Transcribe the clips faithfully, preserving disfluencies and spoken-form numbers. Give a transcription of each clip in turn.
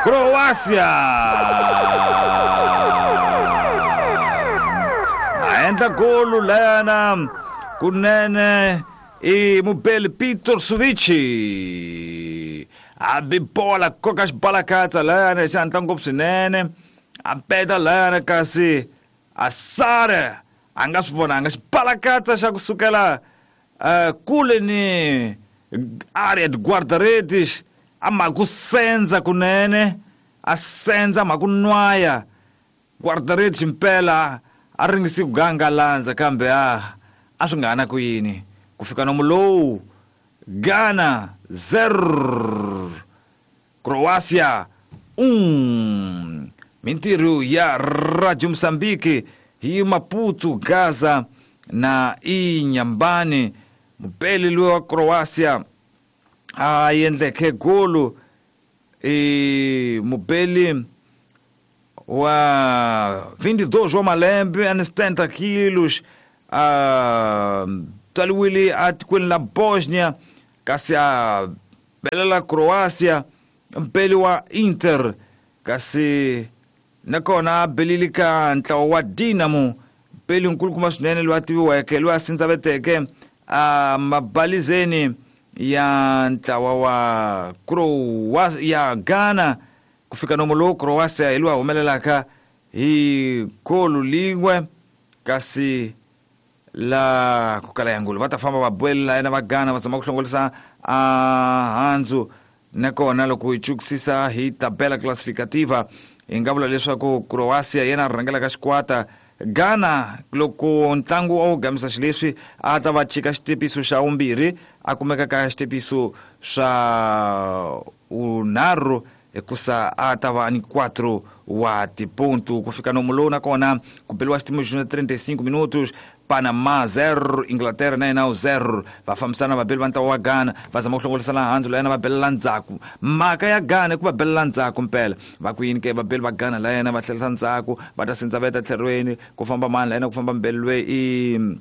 Croácia! A endla golo layana kunene i mubeli Peter Suvici a bi bola koka xibalakatsa layana xi hatla ngopfu swinene a peta layana kasi a sare a nga swi vonanga xibalakatsa xa kusukela uh, kule ni área de guarda-redes a mhaka senza kunene a senza mhaka nwaya guarda-redes impela a ringisi ku gangalandza kambe a a swi nga ha na ku yini ku fika nomu lowu Ghana zero Croácia um. Mintirho ya Radio Moçambique hi Maputo, Gaza na Inhambane. Mupeli loyi wa Croácia a endleke golo e mupeli wa vinte e dois wa malembe a setenta quilos a tswariwile atikweni la Bosnia kasi a belela Croácia mpeli wa Inter kasi nakona a belile ka ntlawa wa Dinamo mpeli nkulukumba swinene loyi a tiviweke loyi a sindzaveteke a mabalizeni ya ntlawa wa Croácia ya Ghana ku fika nomu lowu Croácia hi loyi a humelelaka hi golo lin'we kasi la ku kala ya ngulu va ta famba va buelela yena va Ghana va zama ku hlongolisa a handzu nakona loko hi chukisisa hi tabela classificativa hi nga vula leswaku Croácia yena rhangelaka xikwata Ghana loko ntlangu a wu gamisa xileswi a ta va chika xitepiso xa vumbirhi a kumeka ka xitepiso swa unharhu hikusa a ta va ni quatro wa tiponto ku fika nomu lowu nakona ku beliwa xitimo xa trinta e cinco minutos Panama zero Inglaterra na yena zero va fambisana vabeli va ntlawa wa Ghana va zama ku hlongolisana handzu la yena va belela ndzhaku mhaka ya Ghana i ku va belela ndzhaku mpela va ku yini ke vabeli va Ghana la yena va tlherisa ndzhaku va ta sindzaveta tlherweni ku famba mani la yena ku famba mbeli loyi i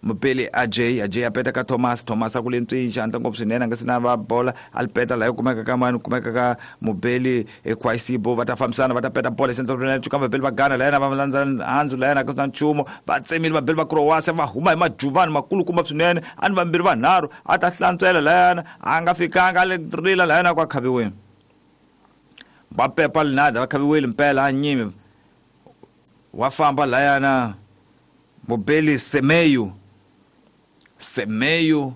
mupeli Ajay Ajay a peta ka Thomas Thomas a ku le ntswini xi ngopfu swinene a nga se na va bola a li peta laha yi kumeka ka mani kumeka ka mubeli Ekwasibo va ta fambisana va ta peta bola cuka vabeli va Ghana la yena va landza handzu la yena ku na nchumu va tsemile vabeli va Croácia va huma hi majuvani makulukumba swinene a ni vambirhi vanharhu a ta hlantswela la yena a nga fikanga a le rila la yena ku a khaviweni va pepa linada va khaviwile mpela a nyimi wa famba la yena mubeli Semeyo Semeyo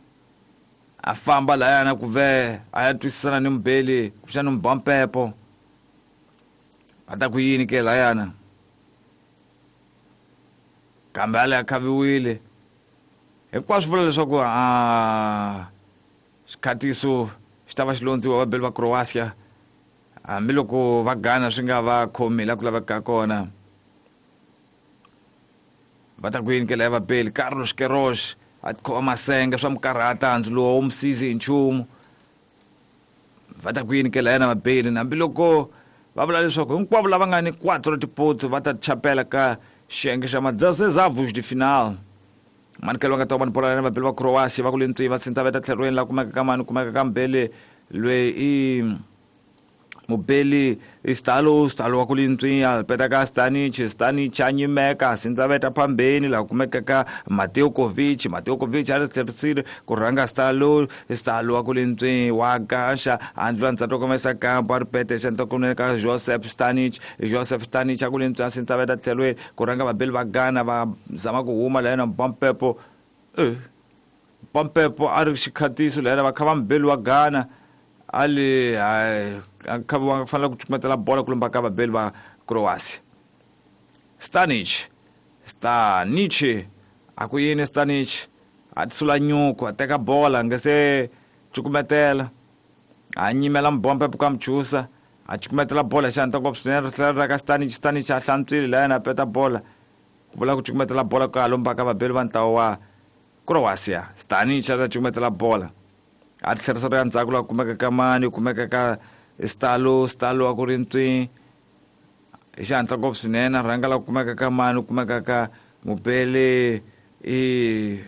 a famba layana ku ve a ya twisisana ni mubeli kuxana mubampepo a ta ku yini ke layana kambe a le a khaviwile hinkwaswo vula leswaku a xikhatiso xi ta va xi londziwa vabeli va Croácia hambiloko va Ghana swi nga va khomi la ku lavekaka kona va ta ku yini ke laya vabeli Carlos Queiroz a khoma masenge swa mukarhata handzu lowu wu musizi hi nchumu va ta ku yini ke la yena vabeli hambiloko va vula leswaku hinkwavo lava nga ni quatro tipoto va ta chapela ka xiyenge xa ma-dezesseis avos de final manikelo va nga ta va ni bola yena vabeli va Croácia va ku le ntswini va sindzaveta tlherweni la kumeka ka mani kumeka ka mbeli loyi i mubeli Stalo Stalo wa ku le ntswini a peta ka Stanic Stanic a nyimeka sindzaveta phambeni laha kumeka ka Mateo Kovic Mateo Kovic a ri tlherisile ku rhanga Stalo Stalo wa ku le ntswini wa gaxa a ndlula ndzhaku komesa kampo a ri pete xandla kunene ka Joseph Stanic Joseph Stanic a ku le ntswini a sindzaveta tlhelweni ku rhanga vabeli va Ghana va zama ku huma la yena Bampepo eh Bampepo a ri xikhatiso la yena va kha va mubeli wa Ghana ali a khaviwanga ku fanele ku cukumetela bola ku lomba ka vabeli va Croácia Stanic Stanic a ku yini Stanic a tisula nyuku a teka bola nga se cukumetela a nyimela mbombe ka mchusa a cukumetela bola xi hatla ngopfu swinene ri tlhela ra ka Stanic Stanic a hlantswile la yena a peta bola ku vula ku cukumetela bola ka lomba ka vabeli va ntlawa wa Croácia Stanic a ta cukumetela bola a tlherisa ri ya ndzhaku laha kumeka ka mani kumeka ka Stalo Stalo wa ku ri ntswini hi xihatla ngopfu swinene a rhanga laha kumeka ka mani kumeka ka mubeli i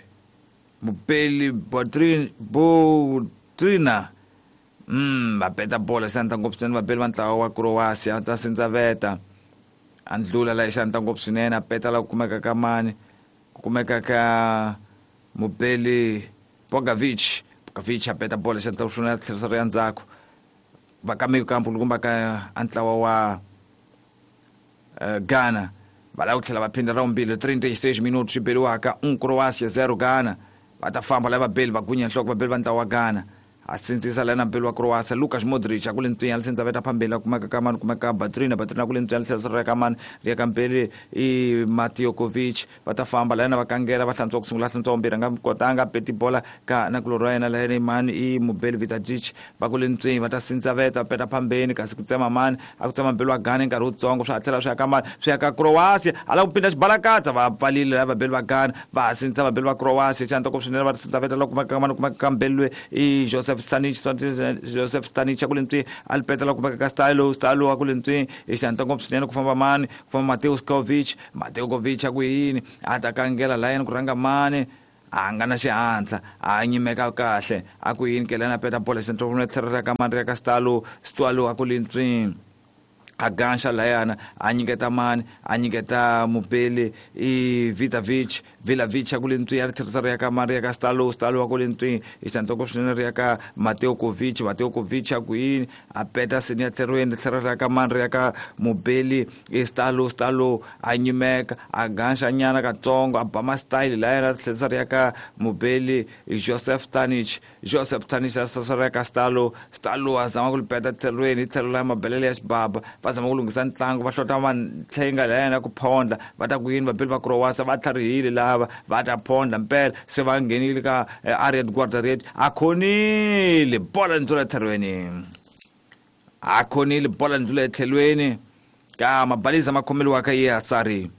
mubeli Botrina Mm va peta bola xanta ngopfu swinene vabeli va ntlawa wa Croatia ta sindzaveta a ndlula la xanta ngopfu swinene a peta la ku kumeka ka mani ku kumeka ka mubeli Bogovic Bogovic a peta bola xanta ngopfu swinene a tlherisa ri ya ndzhaku va ka mikampu kumba ka a ntlawa wa uh, Ghana va lava ku tlhela va phinda ra vumbirhi trinta e seis minutos swi beriwaka um Croatia zero Ghana va ta famba lava vabeli va gunya nhloko vabeli va ntlawa wa Ghana a sindzisa lana mbeli wa Croatia Lukas Modric a ku le ntwinya li sindzaveta phambili a kumeka ka mani kumeka ka Batrina Batrina ku le ntwinya li tlherisa ka mani ri ya ka mbeli i Matiokovic va ta famba lana va kangela va hlantswa ku sungula hlantswa vumbirhi a nga kotanga peti bola ka na kulorhi wa yena layena mani i mubeli Vitajic va ku le ntwinya va ta sindzaveta va peta phambeni kasi ku tsema mani a ku tsema mbeli wa Ghana nkarhi wutsongo swa tlhela swi ya ka mani swi ya ka Croatia a lava ku pinda xibalakatsa va pfalile lava vabeli va Ghana va ha sindzisa vabeli va Croatia xanta ku swinene va sindzaveta la kumeka ka mani kumeka ka mbeli loyi i Joseph Stanic Joseph Stanic a ku le ntwini a li peta la kumeka ka Stylo Stylo a ku le ntwini i xantla ngopfu swinene ku famba mani ku famba Mateo Kovic Mateo Kovic a ku yini a ta kangela layeni ku rhanga mani a nga na xihatla a nyimeka kahle a ku yini ke lana peta bola xantla ku tlherela ka mani ri ya ka Stylo Stylo a ku le ntwini a ganxa layana a nyiketa mani a nyiketa mubeli i Vitavic Vilavic a ku le ntwini a ri tlherisa ri ya ka mani ri ya ka Stalo Stalo a ku le ntwini i xantoko swinene ri ya ka Mateo Kovic Mateo Kovic a ku yini a peta seni ya tlherweni ri tlhela ri ya ka mani ri ya ka mubeli i Stalo Stalo a nyimeka a ganxa nyana katsongo a ba ma-style layana a ri tlherisa ri ya ka mubeli Joseph Stanic Joseph Stanic a tlherisa ri ya ka Stalo Stalo a zama ku li peta tlherweni hi tlhelo la mabelele ya xibaba va zama ku lunghisa ntlangu va hlota vantlhenga layana ku phondla va ta ku yini vabeli va Croatia va tlharihile lava va ta phondla mpela se va nghenile ka Ariad Guardaret a khonile bola ndlula etlhelweni a khonile bola ndlula etlhelweni ka mabaliza ma khomeliwaka yi Asari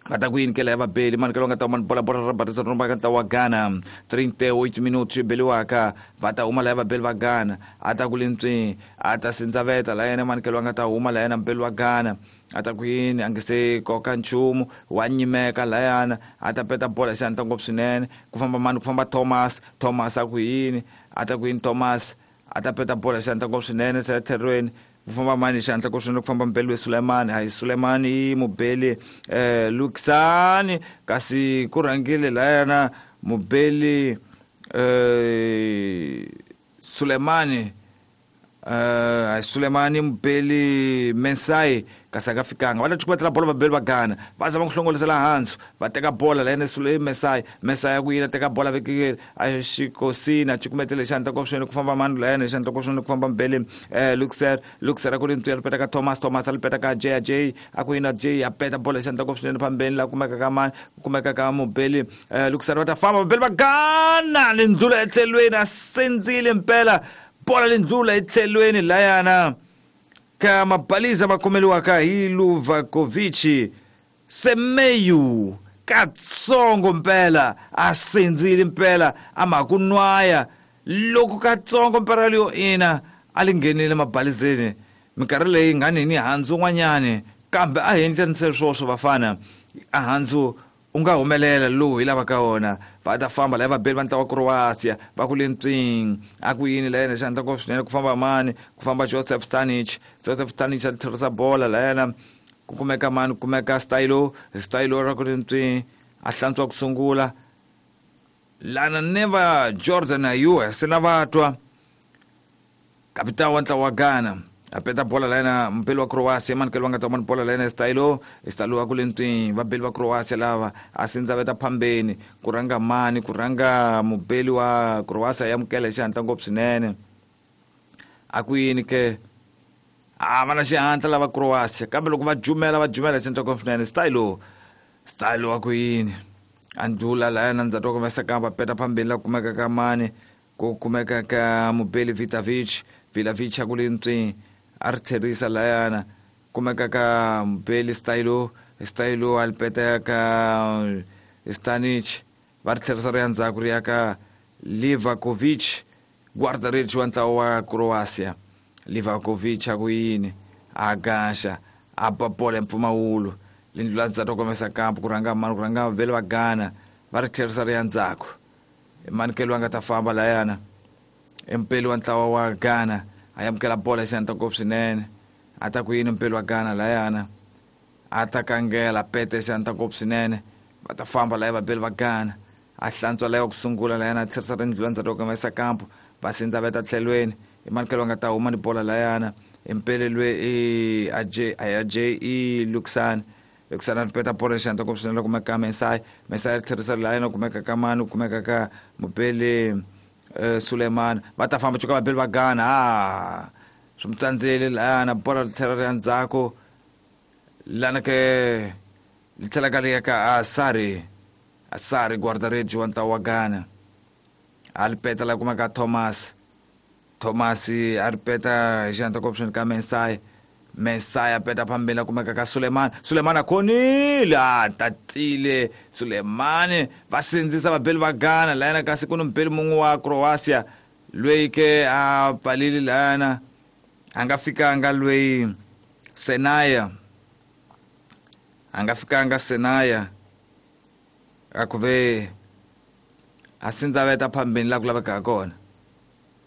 va ta ku yini ke la ya vabeli mani ke lo nga ta huma ni bola bola ra batisa rumba ka ntlawa wa Ghana trinta e oito minutos swi beliwaka va ta huma la ya vabeli va Ghana a ta ku le ntswini a ta sindzaveta la yena mani ke lo nga ta huma la yena mubeli wa Ghana a ta ku yini a nge se koka nchumu wa nyimeka layana a ta peta bola xihatla ngopfu swinene ku famba mani ku famba Thomas Thomas a ku yini a ta ku yini Thomas a ta peta bola xihatla ngopfu swinene tlherweni ku famba mani xihatla ku swinene ku famba mubeli we Sulemani hayi Sulemani i mubeli eh Luxani kasi ku rhangile layana mubeli eh Sulemani eh Sulemani mubeli Mensai kasi a nga fikanga va ta cukumetela bola vabeli va Ghana va zama ku hlongolisela hansi va teka bola layena Sule Mensai Mensai ku yini a teka bola vekile a xikosini a cukumetele xantla ku swinene ku famba mani layena xantla ku swinene ku famba mubeli eh Luxer Luxer a ku ri ntwi a peta ka Thomas Thomas a li peta ka J J a ku yini a J a peta bola xantla ku swinene phambeni la kumeka ka mani kumeka ka mubeli eh Luxer va ta famba vabeli va Ghana lindlula etlhelweni a sindzile mpela bola lindlula etlhelweni layana ka mabaliza ma khomeliwaka hi Luvakovic Semeyu katsongo mpela a sindzile mpela a ma ku nwaya loko katsongo mpela leyo ina a li nghenile mabalizeni minkarhi leyi nga ni ni handzu n'wanyani kambe a hi endleni swoswo vafana a handzu u nga humelela lowu hi lavaka wona va ta famba laya vabeli va ntlawa wa Croatia va ku le ntswini a ku yini layena xandla ku swinene ku famba mani ku famba Joseph Stanic Joseph Stanic a tlherisa bola layena ku kumeka mani ku kumeka Stylo Stylo ra ku le ntswini a hlantswa ku sungula lana ne va Jordan Ayew se na va twa kapitana wa ntlawa wa Ghana a peta bola layena mubeli wa Croatia mani ke lo nga ta mani bola layena Stylo Stylo a ku le ntswini vabeli va Croatia lava a sindzaveta phambeni ku rhanga mani ku rhanga mubeli wa Croatia ya amukela hi xihatla ngopfu swinene a ku yini ke a va na xihatla lava Croatia kambe loko va jumela va jumela hi xihatla ngopfu swinene Stylo Stylo a ku yini a ndlula layena ndzhaku wa kumesa kamba peta phambeni la kumeka ka mani ku kumeka ka mubeli Vitavic Vilavic a ku le ntswini a ri tlherisa layana kumeka ka mubeli Stylo Stylo a li peta ka Stanic va ri tlherisa ri ya ndzhaku ri ya ka Livakovic guarda-redes wa ntlawa wa Croatia Livakovic a ku yini a gaxa a ba bola mpfumawulo lindlula ndzhaku wa komesa kampo ku rhanga mani ku rhanga vele va Ghana va ri tlherisa ri ya ndzhaku manikelo a nga ta famba layana Mpeli wa ntlawa wa Ghana a amukela bola hi xihatla ngopfu swinene. A ta ku yini mpeli wa Ghana layana, a ta kangela pete hi xihatla ngopfu swinene. Va ta famba laya vabeli va Ghana, a hlantswa laya wa ku sungula layana, a tlherisa rindlu endzhaku ka yisa kampo va sindza va ta tlhelweni. I manikelo va nga ta huma ni bola layana. Mpele lwe i Ajay Ajay i Luxan Luxan a peta bola hi xihatla ngopfu swinene. Kumeka ka Mesai Mesai a tlherisa layana, kumeka ka mani, kumeka ka mubeli Suleiman. Va ta famba cuka vabeli va Ghana, a swi mu tsandzeli layana, bola ri tlhela ri ya ndzhaku lana ke li tlhela ka ri ya ka Asari Asari guardaregi wa ntlawa wa Ghana. A ri peta la kumeka Thomas Thomas a ri peta hi xihatla ngopfu swinene ka Mesai Mesai a peta phambili a kumeka ka Suleiman Suleiman a khonile, a tatile Suleiman. Va sindzisa vabeli va Ghana layana, kasi ku ni mubeli mun'we wa Croatia loyi ke a pfalile layana, a nga fikanga loyi Senaya, a nga fikanga Senaya, a ku ve a sindzaveta phambeni laha ku lavekaka kona.